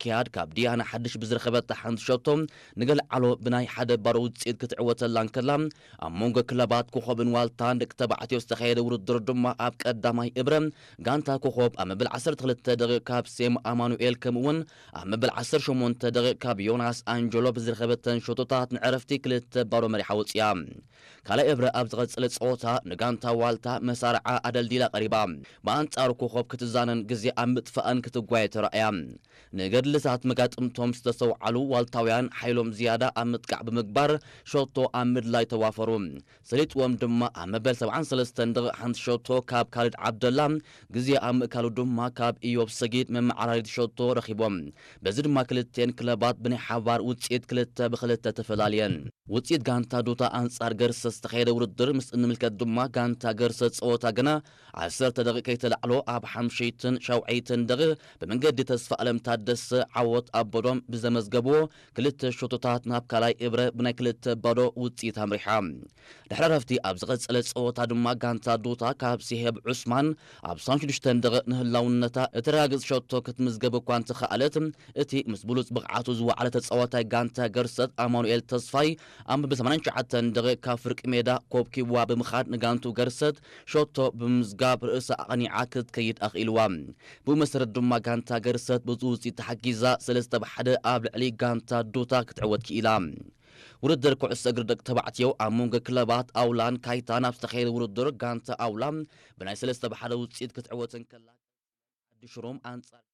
ኪያድ ካብ ዲያና ሓድሽ ብዝረኸበታ ሓንቲ ሸቶ ንገልዓሎ ብናይ ሓደ ባዶ ውፅኢት ክትዕወተላ እንከላ፣ ኣብ መንጎ ክለባት ኮኸብን ዋልታን ደቂ ተባዕትዮ ዝተኻየደ ውድድር ድማ ኣብ ቀዳማይ እብረ ጋንታ ኮኸብ ኣብ መበል ዓሰርተ ክልተ ደቂቕ ካብ ሴም ኣማኑኤል ከምኡ እውን ኣብ መበል ዓሰርተ ሸሞንተ ደቂቕ ካብ ዮናስ ኣንጀሎ ብዝረኸበተን ሸቶታት ንዕረፍቲ ክልተ ባዶ መሪሓ ወፂኣ። ካልኣይ እብረ ኣብ ዝቐጸለ ጸወታ ንጋንታ ዋልታ መሳርዓ ኣደልዲላ ቀሪባ። ብኣንጻሩ ኮኸብ ክትዛነን ግዜ ኣብ ምጥፋእን ክትጓየ ተራእያ። ንገድልታት መጋጥምቶም ዝተሰውዓሉ ዋልታውያን ሓይሎም ዝያዳ ኣብ ምጥቃዕ ብምግባር ሸቶ ኣብ ምድላይ ተዋፈሩ። ሰሊጥዎም ድማ ኣብ መበል ሰብዓን ሰለስተን ደቂቕ ሓንቲ ሸቶ ካብ ካልድ ዓብደላ ግዜ ኣብ ምእካሉ ድማ ካብ ኢዮብ ሰጊድ መመዓራሪት ሸቶ ረኺቦም። በዚ ድማ ክልቴን ክለባት ብናይ ሓባር ውጽኢት ክልተ ብክልተ ተፈላልየን። ውጽኢት ጋንታ ዱታ ኣንጻር ገርሰት ዝተኻየደ ውድድር ምስ እንምልከት ድማ ጋንታ ገርሰት ጸወታ ገና ዓሰርተ ደቂቕ ከይተላዕሎ ኣብ ሓምሸይትን ሻውዓይትን ደቂቕ ብመንገዲ ተስፋ ኣለም ታደሰ ዓወት ኣበዶም ብዘመዝገብዎ ክልተ ሸቶታት ናብ ካልኣይ እብረ ብናይ ክልተ ባዶ ውጽኢት ኣምሪሓ። ድሕሪ ረፍቲ ኣብ ዝቐጸለ ጸወታ ድማ ጋንታ ዱታ ካብ ሲሄብ ዑስማን ኣብ ሰብዓን ሽዱሽተን ደቂቕ ንህላውነታ እተረጋግጽ ሸቶ ክትምዝገብ እኳ እንተኸኣለት፣ እቲ ምስ ብሉጽ ብቕዓቱ ዝወዓለ ተጻዋታይ ጋንታ ገርሰት ኣማኑኤል ተስፋይ ኣብ መበል ሰማንያን ትሽዓተን ደቂቕ ካብ ፍርቂ ሜዳ ኮብኪብዋ ብምኻድ ንጋንቱ ገርሰት ሸቶ ብምምዝጋብ ርእሳ ኣቕኒዓ ክትከይድ ኣኽኢልዋ። ብኡ መሰረት ድማ ጋንታ ገርሰት ብዚ ውጽኢት ተሓጊዛ ሰለስተ ብ ሓደ ኣብ ልዕሊ ጋንታ ዱታ ክትዕወት ክኢላ። ውድድር ኩዕሶ እግሪ ደቂ ተባዕትዮ ኣብ መንጎ ክለባት ኣውላን ካይታን ኣብ ዝተኻየደ ውድድር ጋንታ ኣውላ ብናይ ሰለስተ ብ ሓደ ውጽኢት ክትዕወት እንከላ፣ ዓዲ ሽሮም ኣንጻር